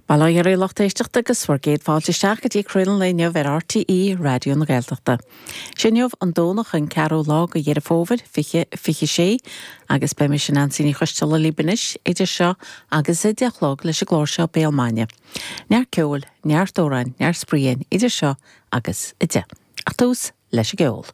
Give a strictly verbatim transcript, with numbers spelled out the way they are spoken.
Bail ó Dhia oraibh a lucht éisteachta agus bhur gcéad fáilte isteach go dtí Craoladh an lae inniu ar RTÉ Raidió na Gaeltachta. Sé inniu an Domhnach an ceathrú lá de Dheireadh Fómhair fiche fiche sé agus beidh mise Neansaí Ní Choisteala libh anois idir seo agus a deich a chlog leis an gclár seo Béal Maidine. Neart ceoil, neart amhráin, neart spraoi idir seo agus a deich. Ach tús leis an gceol.